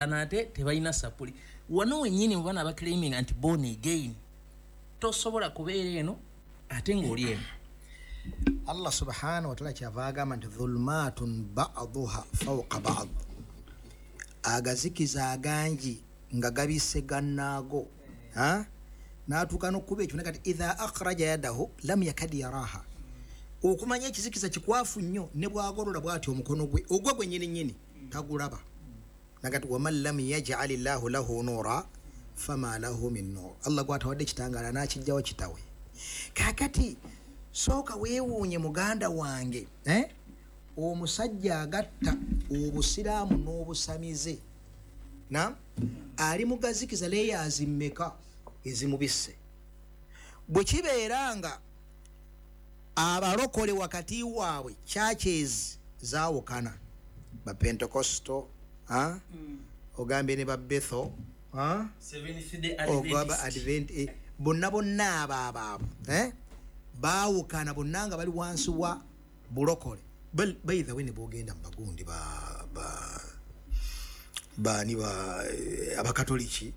Ate tebalina sapuli wano wennyini mu baana abaclaiminga nti born again, tosobola kubeera eno ate ng'oli eno. Allah subhanahu wataala kyava agamba nti dhulumatun baduha fauka bad, agazikiza agangi nga gabise gannaago, natuuka nokuba ekyo kati idha akhraja yadahu lam yakad yaraha. Okumanya ekizikiza kikwafu nnyo, ne bwagolola bwati omukono gwe ogwe gwenyini nyini tagulaba. Nagati waman lam yajal llahu lahu nura fama lahu min nur, Allah gwatawadde ekitangaala nakijjawo kitawe. Kakati sooka weewuunye muganda wange, omusajja agatta obusiraamu n'obusamize na ali mugazikiza layers mmeka ezimubisse. Bwe kibeera nga abalokole wakati waabwe churches zaawukana, ba Pentecostal, ogambye ne ba Bethel, ogaba Advent, bonna bonna abo abaabo baawukana bonna nga bali wansi wa bulokole. By the way, ne bwogenda mu bagundi baani ba abakatoliki,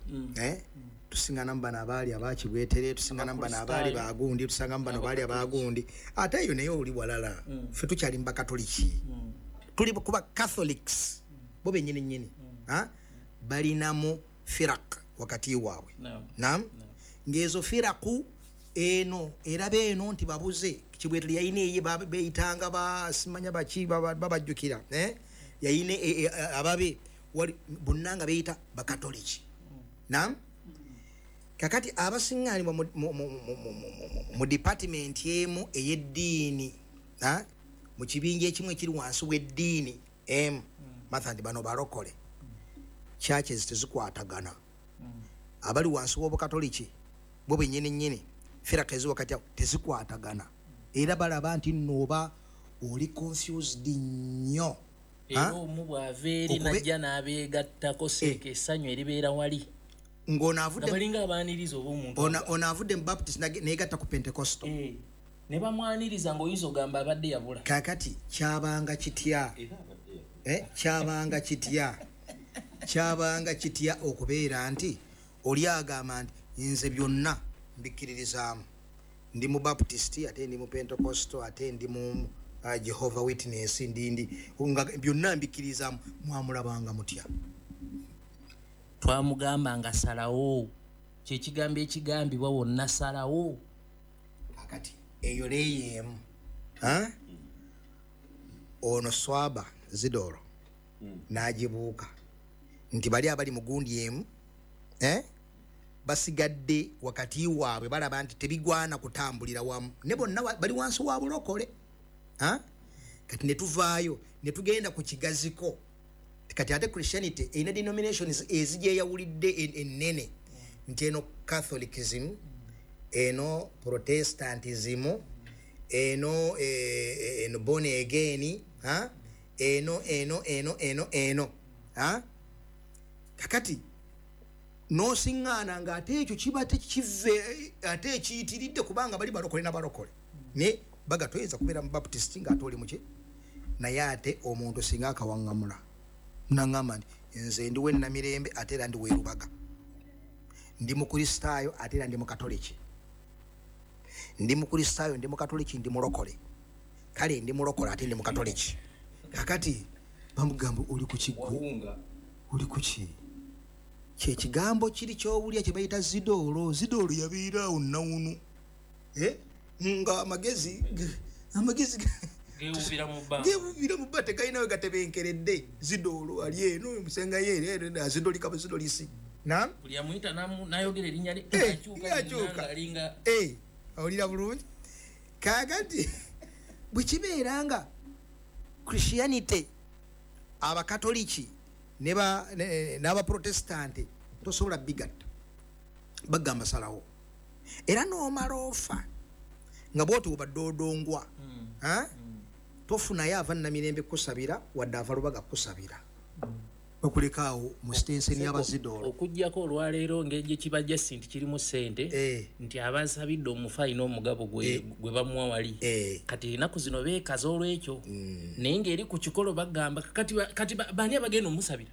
tusingana bano abaali abakibwetere, tusingana bano abaali bagundi, tusanga bano baali abagundi, ate eyo naye oli walala. Ffe tukyali mu bakatoliki, tuli kuba Catholics bo bennyini nnyini, balinamu firaq wakati waabwe. Naam, ng'ezo firaku eno eraba eno nti babuze Kibwetere yayina eye beyitanga basimanya baki babajjukira, yayina ababe bonna nga beyita bakatoliki. Naam, kakati abasiŋŋaanibwa mu department emu ey'eddiini, mu kibinja ekimu ekiri wansi w'eddiini emu, matha nti bano balokole, churches tezikwatagana. Abali wansi w'obukatoliki bo bennyini nnyini firaka ezi wakati awo tezikwatagana, era balaba nti nno oba oli confused nnyo. Era omu bw'ava eri najja n'abeegattako seeka essanyu eribeera wali ng'ono avudde balinga abaaniriza oba omuntu ono avudde mu Baptist neegatta ku Pentecostal, ne bamwaniriza ng'oyinza ogamba abadde yabula. Kakati kyabanga kitya, kyabanga kitya, kyabanga kitya okubeera nti oli agamba nti nze byonna mbikkiririzaamu, ndi mu Baptist ate ndi mu Pentecostal ate ndi mu Jehovah Witness, ndi nga byonna mbikkiririzaamu, mwamulabanga mutya? Twamugamba nga salawo, kyekigambo ekigambibwa wonna salawo. Kakati eyo leeyo emu, ono swaba zidoro n'agibuuka nti bali abali mu gundi emu, basigadde wakati waabwe balaba nti tebigwana kutambulira wamu, ne bonna bali wansi wa bulokole. Kati ne tuvaayo ne tugenda ku kigaziko. Kati ate Christianity erina denominations ezigyeyawulidde ennene, nti eno Catholicism, eno Protestantism, eno eno born again, eno eno eno eno eno. Kakati nosiŋŋaana ng'ate ekyo kiba tekive ate ekiyitiridde, kubanga bali balokole na balokole ne baga toyinza kubeera mu Baptist ng'ate oli muki. Naye ate omuntu singa akawaŋŋamula naŋŋamba nti nze ndi w'ennamirembe ate era ndi w'erubaga, ndi mukristaayo ate era ndi mukatoliki, ndi mukristaayo ndi mukatoliki, ndi mulokole, kale ndi mulokole ate ndi mukatoliki. Kakati bamugamba oli ku kiggwe, oli ku ki? Kyekigambo kiri ky'owulya kye bayita zidoolo. Zidoolo yabeera awo nnawunu, nga amagezi gewubira mu bbanga, gewubira mu bbanga, tegalina we gatebenkeredde. Zidoolo ali eno musenga ye eno azidolika buzidolisi. Naam, buli amuyita n'ayogera erinnya lye akyuka alinga awulira bulungi. Kakati bwe kibeera nga Christianity abakatoliki n'abaprotestanti tosobola bigatta, bagamba salawo, era n'omala ofa nga bw'oti obadde odongwa, tofunayo ava Namirembe kusabira wadde ava Lubaga kusabira, bakulekaawo mu sitenseni y'abazidoolo. Okuggyako olwaleero ng'egye kibajja si nti kirimu ssente, nti abasabidde omufu alina omugabo gwe bamuwa wali. Kati ennaku zino beekaza olw'ekyo, naye ng'eri ku kikolo bagamba kati baani abagenda omusabira?